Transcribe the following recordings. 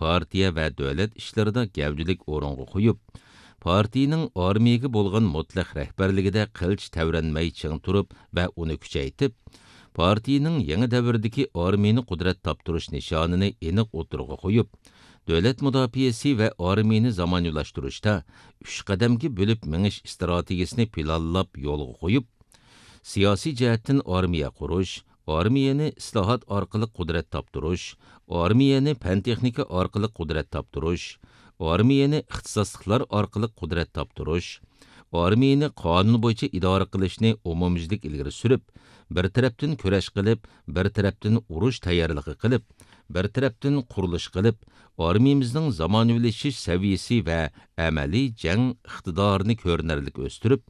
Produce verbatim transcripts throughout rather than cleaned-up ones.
پارتىيە ۋە دۆلەت ئىشلىرىدا گەۋدىلىك ئورۇنغا قويۇپ، پارتىيىنىڭ ئارمىيەگە بولغان مۇتلەق رەھبەرلىكىدە قىلچە تەۋرەنمەي چىڭ تۇرۇپ ۋە ئۇنى كۈچەيتىپ، پارتىيىنىڭ يېڭى دەۋردىكى ئارمىيىنى قۇدرەت تاپتۇرۇش نىشانىنى ئېنىق ئوتتۇرىغا قويۇپ، دۆلەت مۇداپىئەسى ۋە ئارمىيىنى زامانىۋىلاشتۇرۇشتا ئۈچ قەدەمگە بۆلۈپ مېڭىش ئىستراتېگىيىسىنى پىلانلاپ يولغا قويۇپ، سىياسىي جەھەتتىن ئارمىيە قۇرۇش، ئارمىيەنى ئىسلاھات ئارقىلىق قۇدرەت تاپتۇرۇش، ئارمىيەنى پەن-تېخنىكا ئارقىلىق قۇدرەت تاپتۇرۇش، ئارمىيەنى ئىختىساسلىقلار ئارقىلىق قۇدرەت تاپتۇرۇش، ئارمىيەنى قانۇن بويىچە ئىدارە قىلىشنى ئومۇميۈزلۈك ئىلگىرى سۈرۈپ، بىر تەرەپتىن كۈرەش قىلىپ، بىر تەرەپتىن ئۇرۇش تەييارلىقى قىلىپ، بىر تەرەپتىن قۇرۇلۇش قىلىپ، ئارمىيىمىزنىڭ زامانىۋىلىشىش سەۋىيىسى ۋە ئەمەلىي جەڭ ئىقتىدارىنى كۆرۈنەرلىك ئۆستۈرۈپ،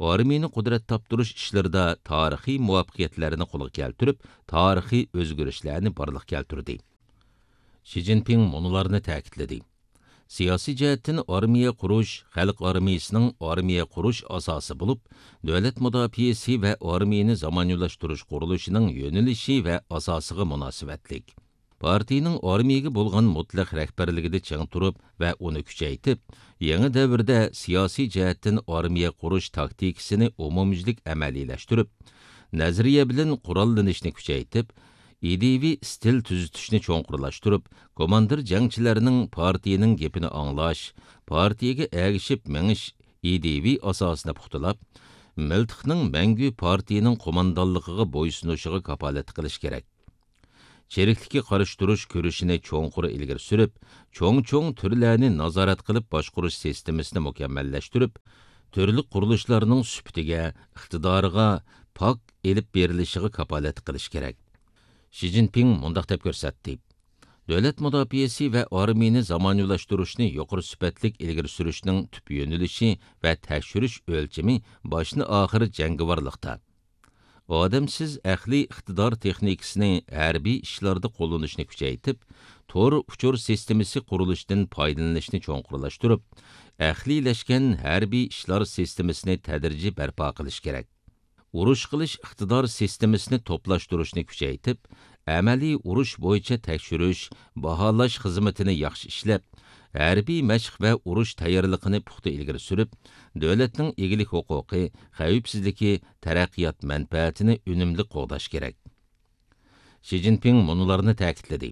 ئارمىيىنى قۇدرەت تاپتۇرۇش ئىشلىرىدا تارىخىي مۇۋەپپەقىيەتلەرنى قولغا كەلتۈرۈپ، تارىخىي ئۆزگىرىشلەرنى بارلىققا كەلتۈردى. شى جىنپىڭ مۇنۇلارنى تەكىتلىدى: سىياسىي جەھەتتىن ئارمىيە قۇرۇش خەلق ئارمىيىسىنىڭ ئارمىيە قۇرۇش ئاساسى بولۇپ، دۆلەت مۇداپىئەسى ۋە ئارمىيىنى زامانىۋىلاشتۇرۇش قۇرۇلۇشىنىڭ يۆنىلىشى ۋە ئاساسىغا مۇناسىۋەتلىك. پارتىيىنىڭ ئارمىيەگە بولغان مۇتلەق رەھبەرلىكىدە چىڭ تۇرۇپ ۋە ئۇنى كۈچەيتىپ، يېڭى دەۋردە سىياسىي جەھەتتىن ئارمىيە قۇرۇش تاكتىكىسىنى ئومۇميۈزلۈك ئەمەلىيلەشتۈرۈپ، نەزەرىيە بىلەن قوراللىنىشنى كۈچەيتىپ، ئىدىيىۋى ئىستىل تۈزىتىشنى چوڭقۇرلاشتۇرۇپ، كوماندىر جەڭچىلەرنىڭ پارتىيىنىڭ گېپىنى ئاڭلاش، پارتىيىگە ئەگىشىپ مېڭىش ئىدىيىۋى ئاساسىنى پۇختىلاپ، مىلتىقنىڭ مەڭگۈ پارتىيىنىڭ قوماندانلىقىغا بويسۇنۇشىغا كاپالەتلىك قىلىش كېرەك. چىرىكلىككە قارشى تۇرۇش كۈرىشىنى چوڭقۇر ئىلگىرى سۈرۈپ، چوڭ-چوڭ تۈرلەرنى نازارەت قىلىپ باشقۇرۇش سىستېمىسىنى مۇكەممەللەشتۈرۈپ، تۈرلۈك قۇرۇلۇشلارنىڭ سۈپىتىگە، ئىقتىدارىغا پاك ئېلىپ بېرىلىشىغا كاپالەتلىك قىلىش كېرەك. شى جىنپىڭ مۇنداق دەپ كۆرسەتتى: دۆلەت مۇداپىئەسى ۋە ئارمىيىنى زامانىۋىلاشتۇرۇشنى يۇقىرى سۈپەتلىك ئىلگىرى سۈرۈشنىڭ تۈپ يۆنىلىشى ۋە تەكشۈرۈش ئۆلچىمى باشتىن-ئاخىر جەڭگىۋارلىقتا. ئادەمسىز ئەقلىي ئىقتىدار تېخنىكىسىنى ھەربىي ئىشلاردا قوللىنىشنى كۈچەيتىپ، تور ئۇچۇر سىستېمىسى قۇرۇلۇشىدىن پايدىلىنىشنى چوڭقۇرلاشتۇرۇپ، ئەقلىيلەشكەن ھەربىي ئىشلار سىستېمىسىنى تەدرىجىي بەرپا قىلىش كېرەك. ئۇرۇش قىلىش ئىقتىدار سىستېمىسىنى توپلاشتۇرۇشنى كۈچەيتىپ، ئەمەلىي ئۇرۇش بويىچە تەكشۈرۈش، باھالاش خىزمىتىنى ياخشى ئىشلەپ، ھەربىي مەشىق ۋە ئۇرۇش تەييارلىقىنى پۇختا ئىلگىرى سۈرۈپ، دۆلەتنىڭ ئىگىلىك ھوقۇقى، خەۋپسىزلىكى، تەرەققىيات مەنپەئەتىنى ئۈنۈملۈك قوغداش كېرەك. شى جىنپىڭ مۇنۇلارنى تەكىتلىدى: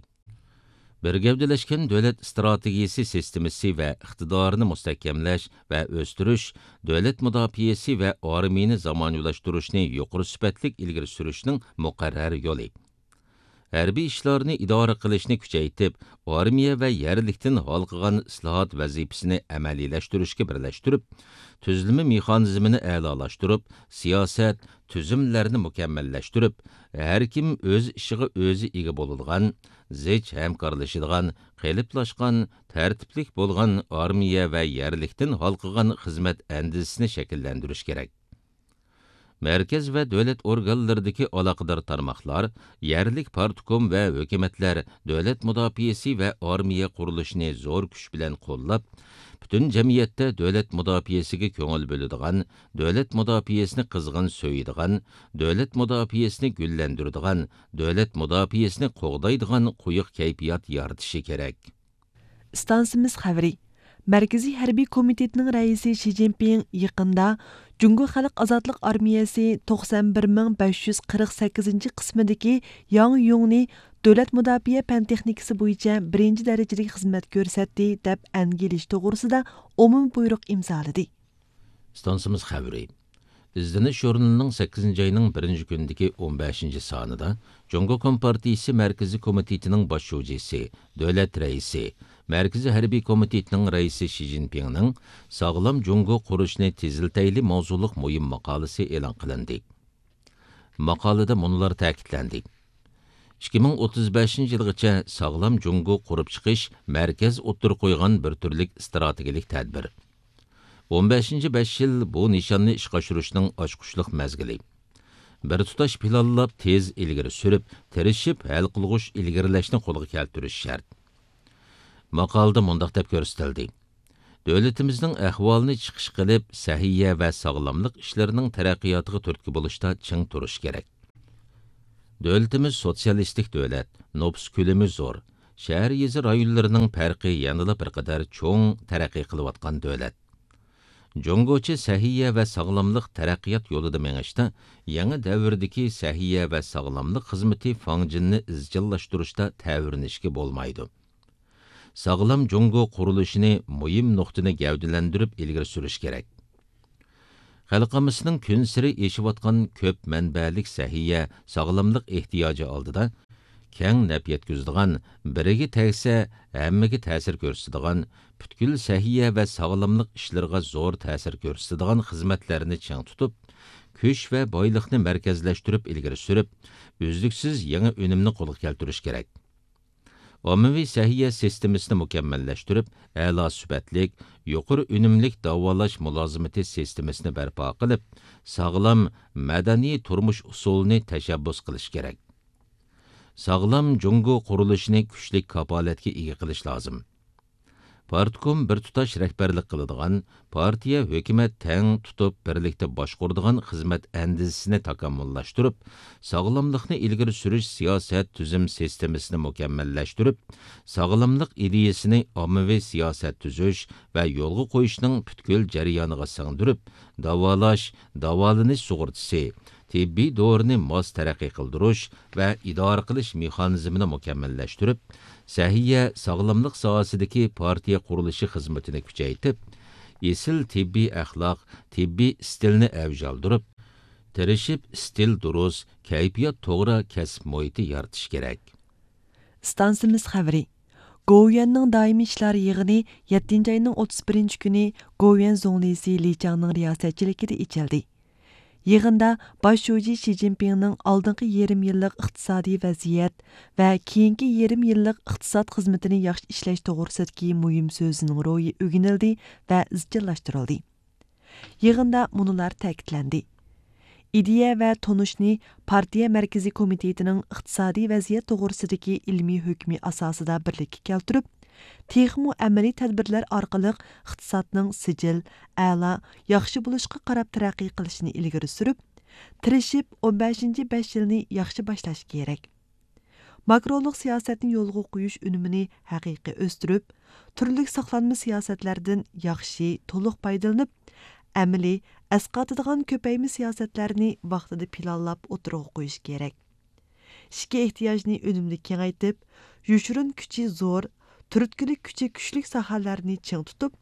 بىر گەۋدىلەشكەن دۆلەت ئىستراتېگىيىسى سىستېمىسى ۋە ئىقتىدارىنى مۇستەھكەملەش ۋە ئۆستۈرۈش، دۆلەت مۇداپىئەسى ۋە ئارمىيىنى زامانىۋىلاشتۇرۇشنى يۇقىرى سۈپەتلىك ئىلگىرى سۈرۈشنىڭ مۇقەررەر يولى. ھەربىي ئىشلارنى ئىدارە قىلىشنى كۈچەيتىپ، ئارمىيە ۋە يەرلىكتىن ھالقىغان ئىسلاھات ۋەزىپىسىنى ئەمەلىيلەشتۈرۈشكە بىرلەشتۈرۈپ، تۈزۈلمە مېخانىزمىنى ئەلالاشتۇرۇپ، سىياسەت، تۈزۈملەرنى مۇكەممەللەشتۈرۈپ، ھەر كىم ئۆز ئىشىغا ئۆزى ئىگە بولىدىغان، زىچ ھەمكارلىشىدىغان، قېلىپلاشقان، تەرتىپلىك بولغان ئارمىيە ۋە يەرلىكتىن ھالقىغان خىزمەت ئەندىزىسىنى شەكىللەندۈرۈش كېرەك. مەركەز ۋە دۆلەت ئورگانلىرىدىكى ئالاقىدار تارماقلار، يەرلىك پارتكوم ۋە ھۆكۈمەتلەر دۆلەت مۇداپىئەسى ۋە ئارمىيە قۇرۇلۇشىنى زور كۈچ بىلەن قوللاپ، پۈتۈن جەمئىيەتتە دۆلەت مۇداپىئەسىگە كۆڭۈل بۆلىدىغان، دۆلەت مۇداپىئەسىنى قىزغىن سۆيىدىغان، دۆلەت مۇداپىئەسىنى گۈللەندۈرىدىغان، دۆلەت مۇداپىئەسىنى قوغدايدىغان قويۇق كەيپىيات يارىتىشى كېرەك. ئىستانسىمىز خەۋىرى. مەركىزىي ھەربىي كومىتېتنىڭ رەئىسى شى جىنپىڭ يېقىندا جۇڭگو خەلق ئازادلىق ئارمىيەسى توقسان بىر مىڭ بەش يۈز قىرىق سەككىزىنچى قىسمىدىكى ياڭ يۇڭنى دۆلەت مۇداپىئە پەن تېخنىكىسى بويىچە بىرىنچى دەرىجىلىك خىزمەت كۆرسەتتى، دەپ ئەنگە ئېلىش توغرىسىدا ئومۇمىي بۇيرۇق ئىمزالىدى. ئىستانسىمىز خەۋىرى. ئىزدىنىش ژۇرنىلىنىڭ سەككىزىنچى ئاينىڭ بىرىنچى كۈنىدىكى ئون بەشىنچى سانىدا جۇڭگو كومپارتىيىسى مەركىزىي كومىتېتىنىڭ باش شۇجىسى، دۆلەت رەئىسى، مەركىزىي ھەربىي كومىتېتنىڭ رەئىسى شى جىنپىڭنىڭ ساغلام جۇڭگو قۇرۇشنى تېزلىتەيلى ماۋزۇلۇق مۇھىم ماقالىسى ئېلان قىلىندى. ماقالىدە مۇنۇلار تەكىتلەندى: ئىككى مىڭ ئوتتۇز بەشىنچى يىلغىچە ساغلام جۇڭگو قۇرۇپ چىقىش مەركەز ئوتتۇرىغا قويغان بىر تۈرلۈك ئىستراتېگىيەلىك تەدبىر. ئون بەشىنچى بەش يىل بۇ نىشاننى ئىشقا ئاشۇرۇشنىڭ ئاچقۇچلۇق مەزگىلى. بىر تۇتاش پىلانلاپ، تېز ئىلگىرى سۈرۈپ، تىرىشىپ ھەل قىلغۇچ ئىلگىرىلەشنى قولغا كەلتۈرۈش شەرت. ماقالىدە مۇنداق دەپ كۆرسىتىلدى: دۆلىتىمىزنىڭ ئەھۋالىنى چىقىش قىلىپ، سەھىيە ۋە ساغلاملىق ئىشلىرىنىڭ تەرەققىياتىغا تۈرتكە بولۇشتا چىڭ تۇرۇش كېرەك. دۆلىتىمىز سوتسىيالىستىك دۆلەت، نوپۇس كۆلىمى زور، شەھەر، يېزا رايونلىرىنىڭ پەرقى يەنىلا بىر قەدەر چوڭ تەرەققىي قىلىۋاتقان دۆلەت. جۇڭگوچە سەھىيە ۋە ساغلاملىق تەرەققىيات يولىدا مېڭىشتا يېڭى دەۋردىكى سەھىيە ۋە ساغلاملىق خىزمىتى فاڭجېننى ئىزچىللاشتۇرۇشتا تەۋرىنىشكە بولمايدۇ. ساغلام جۇڭگو قۇرۇلۇشىنى مۇھىم نۇقتىنى گەۋدىلەندۈرۈپ ئىلگىرى سۈرۈش كېرەك. خەلقىمىزنىڭ كۈنسېرى ئېشىۋاتقان كۆپ مەنبەلىك سەھىيە، ساغلاملىق ئېھتىياجى ئالدىدا كەڭ نەپ يەتكۈزىدىغان، بىرىگە تەگسە ھەممىگە تەسىر كۆرسىتىدىغان، پۈتكۈل سەھىيە ۋە ساغلاملىق ئىشلىرىغا زور تەسىر كۆرسىتىدىغان خىزمەتلەرنى چىڭ تۇتۇپ، كۈچ ۋە بايلىقنى مەركەزلەشتۈرۈپ ئىلگىرى سۈرۈپ، ئۈزلۈكسىز يېڭى ئۈنۈمنى قولغا كەلتۈرۈش كېرەك. ئاممىۋى سەھىيە سىستېمىسىنى مۇكەممەللەشتۈرۈپ، ئەلا سۈپەتلىك، يۇقىرى ئۈنۈملۈك داۋالاش مۇلازىمىتى سىستېمىسىنى بەرپا قىلىپ، ساغلام، مەدەنىي تۇرمۇش ئۇسۇلىنى تەشەببۇس قىلىش كېرەك. ساغلام جۇڭگو قۇرۇلۇشىنى كۈچلۈك كاپالەتكە ئىگە قىلىش لازىم. پارتكوم بىر تۇتاش رەھبەرلىك قىلىدىغان، پارتىيە، ھۆكۈمەت تەڭ تۇتۇپ بىرلىكتە باشقۇرىدىغان خىزمەت ئەندىزىسىنى تاكامۇللاشتۇرۇپ، ساغلاملىقنى ئىلگىرى سۈرۈش سىياسەت تۈزۈم سىستېمىسىنى مۇكەممەللەشتۈرۈپ، ساغلاملىق ئىدىيىسىنى ئاممىۋى سىياسەت تۈزۈش ۋە يولغا قويۇشنىڭ پۈتكۈل جەريانىغا سىڭدۈرۈپ، داۋالاش، داۋالىنىش سۇغۇرتىسى، تېببىي دورىنى ماس تەرەققىي قىلدۇرۇش ۋە ئىدارە قىلىش مېخانىزمىنى مۇكەممەللەشتۈرۈپ، سەھىيە، ساغلاملىق ساھەسىدىكى پارتىيە قۇرۇلۇشى خىزمىتىنى كۈچەيتىپ، ئېسىل تېببىي ئەخلاق، تېببىي ئىستىلنى ئەۋج ئالدۇرۇپ، تىرىشىپ ئىستىل دۇرۇس، كەيپىيات توغرا كەسىپ مۇھىتى يارىتىش كېرەك. ئىستانسىمىز خەۋىرى. گوۋۇيۈەننىڭ دائىمىي ئىشلار يىغىنى يەتتىنچى ئاينىڭ ئوتتۇز بىرىنچى كۈنى گوۋۇيۈەن زۇڭلىسى لى چاڭنىڭ رىياسەتچىلىكىدە ئېچىلدى. يىغىندا باش شۇجى شى جىنپىڭنىڭ ئالدىنقى يېرىم يىللىق ئىقتىسادىي ۋەزىيەت ۋە كېيىنكى يېرىم يىللىق ئىقتىساد خىزمىتىنى ياخشى ئىشلەش توغرىسىدىكى مۇھىم سۆزىنىڭ روھى ئۆگىنىلدى ۋە ئىزچىللاشتۇرۇلدى. يىغىندا مۇنۇلار تەكىتلەندى: ئىدىيە ۋە تونۇشنى پارتىيە مەركىزىي كومىتېتىنىڭ ئىقتىسادىي ۋەزىيەت توغرىسىدىكى ئىلمىي ھۆكمى ئاساسىدا بىرلىككە كەلتۈرۈپ، تېخىمۇ ئەمەلىي تەدبىرلەر ئارقىلىق ئىقتىسادنىڭ سىجىل، ئەلا، ياخشى بولۇشقا قاراپ تەرەققىي قىلىشىنى ئىلگىرى سۈرۈپ، تىرىشىپ ئون بەشىنچى بەش يىلنى ياخشى باشلاش كېرەك. ماكرولۇق سىياسەتنى يولغا قويۇش ئۈنۈمىنى ھەقىقىي ئۆستۈرۈپ، تۈرلۈك ساقلانما سىياسەتلەردىن ياخشى، تولۇق پايدىلىنىپ، ئەمەلىي، ئەسقاتىدىغان كۆپەيمە سىياسەتلەرنى ۋاقتىدا پىلانلاپ ئوتتۇرىغا قويۇش كېرەك. ئىچكى ئېھتىياجنى ئۈنۈملۈك كېڭەيتىپ، يوشۇرۇن كۈچى زور، تۈرتكىلىك كۈچى كۈچلۈك ساھەلەرنى چىڭ تۇتۇپ،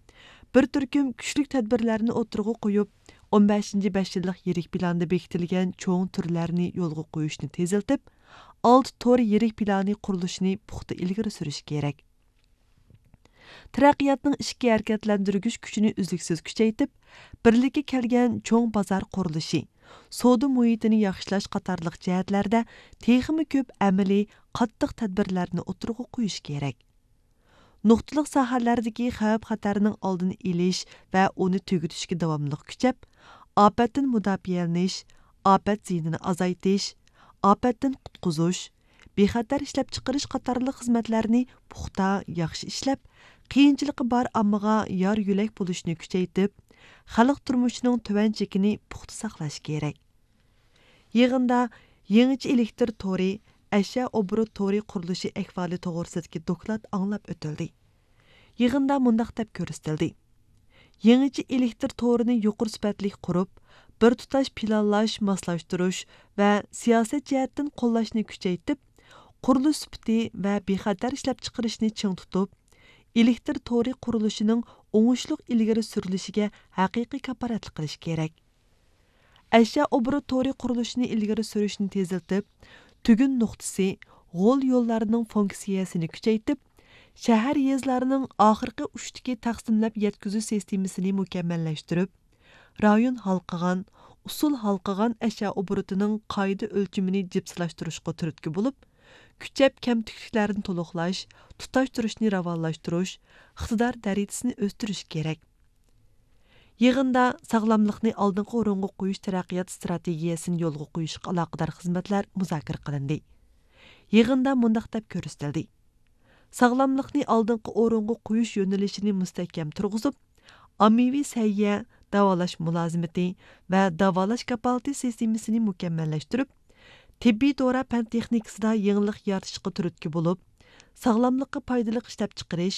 بىر تۈركۈم كۈچلۈك تەدبىرلەرنى ئوتتۇرىغا قويۇپ، ئون بەشىنچى بەش يىللىق يىرىك پىلاندا بېكىتىلگەن چوڭ تۈرلەرنى يولغا قويۇشنى تېزلىتىپ، ئالتە تور يىرىك پىلانى قۇرۇلۇشىنى پۇختا ئىلگىرى سۈرۈش كېرەك. تەرەققىياتنىڭ ئىچكى ھەرىكەتلەندۈرگۈچ كۈچىنى ئۈزلۈكسىز كۈچەيتىپ، بىرلىككە كەلگەن چوڭ بازار قۇرۇلۇشى، سودا مۇھىتىنى ياخشىلاش قاتارلىق جەھەتلەردە تېخىمۇ كۆپ ئەمەلىي، قاتتىق تەدبىرلەرنى ئوتتۇرىغا قويۇش كېرەك. نۇقتىلىق ساھەلەردىكى خەۋپ-خەتەرنىڭ ئالدىنى ئېلىش ۋە ئۇنى تۈگىتىشكە داۋاملىق كۈچەپ، ئاپەتتىن مۇداپىئەلىنىش، ئاپەت زىيىنىنى ئازايتىش، ئاپەتتىن قۇتقۇزۇش، بىخەتەر ئىشلەپچىقىرىش قاتارلىق خىزمەتلەرنى پۇختا، ياخشى ئىشلەپ، قىيىنچىلىقى بار ئاممىغا يار-يۆلەك بولۇشنى كۈچەيتىپ، خەلق تۇرمۇشىنىڭ تۆۋەن چېكىنى پۇختا ساقلاش كېرەك. يىغىندا يېڭىچە ئېلېكتر تورى، ئەشيا ئوبوروت تورى قۇرۇلۇشى ئەھۋالى توغرىسىدىكى دوكلات ئاڭلاپ ئۆتۈلدى. يىغىندا مۇنداق دەپ كۆرسىتىلدى: يېڭىچە ئېلېكتر تورىنى يۇقىرى سۈپەتلىك قۇرۇپ، بىر تۇتاش پىلانلاش، ماسلاشتۇرۇش ۋە سىياسەت جەھەتتىن قوللاشنى كۈچەيتىپ، قۇرۇلۇش سۈپىتى ۋە بىخەتەر ئىشلەپچىقىرىشنى چىڭ تۇتۇپ، ئېلېكتر تورى قۇرۇلۇشىنىڭ ئوڭۇشلۇق ئىلگىرى سۈرۈلۈشىگە ھەقىقىي كاپالەتلىك قىلىش كېرەك. ئەشيا ئوبوروت تورى قۇرۇلۇشىنى ئىلگىرى سۈرۈشنى تېزلىتىپ، تۈگۈن نۇقتىسى، غول يوللارنىڭ فۇنكسىيەسىنى كۈچەيتىپ، شەھەر، يېزىلارنىڭ ئاخىرقى ئۇچتىكى تەقسىملەپ يەتكۈزۈش سىستېمىسىنى مۇكەممەللەشتۈرۈپ، رايون ھالقىغان، ئۇسۇل ھالقىغان ئەشيا ئوبوروتىنىڭ قائىدە ئۆلچىمىنى جىپسىلاشتۇرۇشقا تۈرتكە بولۇپ، كۈچەپ كەمتۈكلۈكلەرنى تولۇقلاش، تۇتاشتۇرۇشنى راۋانلاشتۇرۇش، ئىقتىدار دەرىجىسىنى ئۆستۈرۈش كېرەك. يىغىندا ساغلاملىقنى ئالدىنقى ئورۇنغا قويۇش تەرەققىيات ئىستراتېگىيەسىنى يولغا قويۇشقا ئالاقىدار خىزمەتلەر مۇزاكىرە قىلىندى. يىغىندا مۇنداق دەپ كۆرسىتىلدى: ساغلاملىقنى ئالدىنقى ئورۇنغا قويۇش يۆنىلىشىنى مۇستەھكەم تۇرغۇزۇپ، ئاممىۋى سەھىيە، داۋالاش مۇلازىمىتى ۋە داۋالاش كاپالىتى سىستېمىسىنى مۇكەممەللەشتۈرۈپ، تېببىي دورا پەن تېخنىكىسىدا يېڭىلىق يارىتىشقا تۈرتكە بولۇپ، ساغلاملىققا پايدىلىق ئىشلەپچىقىرىش،